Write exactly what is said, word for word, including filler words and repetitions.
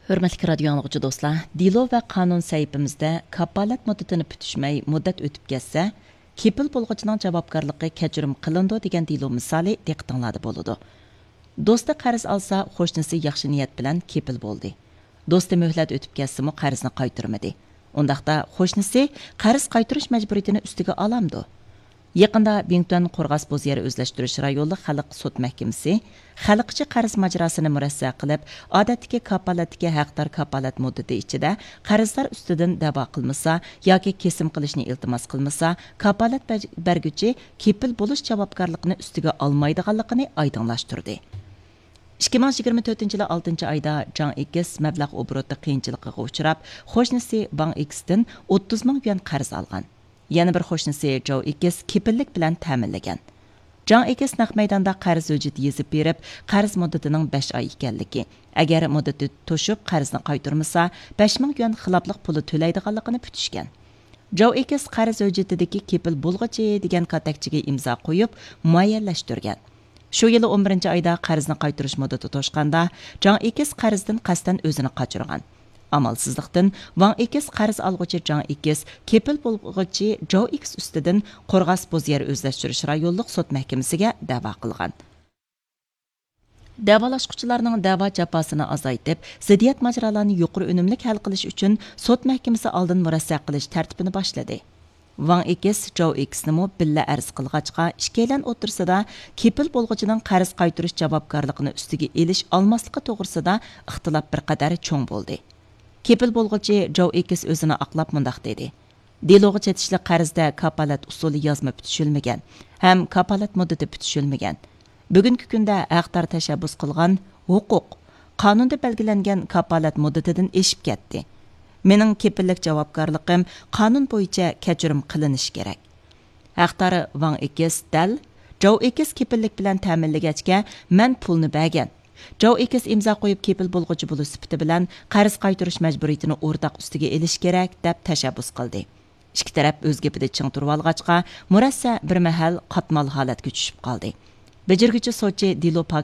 ھۆرمەتلىك رادىيو ئاڭلىغۇچى دوستلار، دېلو ۋە قانۇن سەھىپىمىزدە كاپالەت مۇددىتىنى پۈتۈشمەي مۇددەت ئۆتۈپ كەتسە، كېپىل بولغۇچىنىڭ جاۋابكارلىقى كەچۈرۈم قىلىنىدۇ دېگەن دېلو مىسالى دىققىتىڭلاردا بولىدۇ. دوستى قەرز ئالسا، قوشنىسى ياخشى نىيەت بىلەن كېپىل بولدى. دوستى مۆھلەت ئۆتۈپ كەتسىمۇ قەرزنى قايتۇرمىدى. ئۇنداقتا قوشنىسى قەرز قايتۇرۇش مەجبۇرىيىتىنى ئۈستىگە ئالامدۇ؟ يېقىندا بىڭتۈەن قورغاس بوز يەر ئۆزلەشتۈرۈش رايونلۇق خەلق سوت مەھكىمىسى خەلقچە قەرز ماجىراسىنى مۇرەسسە قىلىپ، ئادەتتىكى كاپالەتتىكى ھەقدار كاپالەت مۇددىتى ئىچىدە قەرزدار ئۈستىدىن دەۋا قىلمىسا ياكى كېسىم قىلىشنى ئىلتىماس قىلمىسا، كاپالەت بەر-، بەرگۈچى كېپىل بولۇش جاۋابكارلىقىنى ئۈستىگە ئالمايدىغانلىقىنى ئايدىڭلاشتۇردى. ئىككى مىڭ يىگىرمە تۆتىنچى يىلى ئالتىنچى ئايدا جاڭ ئېكىس مەبلەغ ئوبوروتى قىيىنچىلىقىغا ئۇچراپ، قوشنىسى ۋاڭ ئېكىستىن ئوتتۇز مىڭ يۈەن قەرز ئالغان. يەنە بىر قوشنىسى جاۋ ئېكىس كېپىللىك بىلەن تەمىنلىگەن. جاڭ ئېكىس نەق مەيداندا قەرز ھۆججىتى يېزىپ بېرىپ، قەرز مۇددىتىنىڭ بەش ئاي ئىكەنلىكى، ئەگەر مۇددىتى توشۇپ قەرزنى قايتۇرمىسا، بەش مىڭ يۈەن خىلاپلىق پۇلى تۆلەيدىغانلىقىنى پۈتۈشكەن. جاۋ ئېكىس قەرز ھۆججىتىدىكى كېپىل بولغۇچى دېگەن كاتەكچىگە ئىمزا قويۇپ، مۇئەييەنلەشتۈرگەن. شۇ يىلى ئون بىرىنچى ئايدا قەرزنى قايتۇرۇش مۇددىتى توشقاندا، جاڭ ئېكىس قەرزدىن قەستەن ئۆزىنى قاچۇرغان. ئامالسىزلىقتىن، ۋاڭ ئېكىس قەرز ئالغۇچى جاڭ ئېكىس كېپىل بولغۇچى جاۋ ئېكىس ئۈستىدىن قورغاس بوز يەر ئۆزلەشتۈرۈش رايونلۇق سوت مەھكىمىسىگە دەۋا قىلغان. دەۋالاشقۇچىلارنىڭ دەۋا جاپاسىنى ئازايتىپ، زىددىيەت ماجىرالارنى يۇقىرى ئۈنۈملۈك ھەل قىلىش ئۈچۈن سوت مەھكىمىسى ئالدىن مۇرەسسە قىلىش تەرتىپىنى باشلىدى. ۋاڭ ئېكىس، جاۋ ئېكىسنىمۇ بىللە ئەرز قىلغاچقا، ئىككىيلەن ئوتتۇرىسىدا كېپىل بولغۇچىنىڭ قەرز قايتۇرۇش جاۋابكارلىقىنى ئۈستىگە ئېلىش ئالماسلىقى توغرىسىدا ئىختىلاپ بىر قەدەر چوڭ بولدى. كېپىل بولغۇچى جاۋ ئېكىس ئۆزىنى ئاقلاپ مۇنداق دېدى: دېلوغا چېتىشلىق قەرزدە كاپالەت ئۇسۇلى يازما پۈتۈشۈلمىگەن ھەم كاپالەت مۇددىتى پۈتۈشۈلمىگەن. بۈگۈنكى كۈندە ھەقدار تەشەببۇس قىلغان ھوقۇق، قانۇندا بەلگىلەنگەن كاپالەت مۇددىتىدىن ئېشىپ كەتتى. مېنىڭ كېپىللىك جاۋابكارلىقىم قانۇن بويىچە كەچۈرۈم قىلىنىشى كېرەك. ھەقدار ۋاڭ ئېكىس دەل جاۋ ئېكىس كېپىللىك بىلەن تەمىنلىگەچكە، مەن پۇلنى بەرگەن. جاۋ ئېكىس ئىمزا قويۇپ كېپىل بولغۇچى بولۇش سۈپىتى بىلەن قەرز قايتۇرۇش مەجبۇرىيىتىنى ئورتاق ئۈستىگە ئېلىش كېرەك، دەپ تەشەببۇس قىلدى. ئىككى تەرەپ ئۆز گېپىدە چىڭ تۇرۇۋالغاچقا، مۇرەسسە بىر مەھەل قاتمال ھالەتكە چۈشۈپ قالدى. بېجىرگۈچى سوتچى دېلو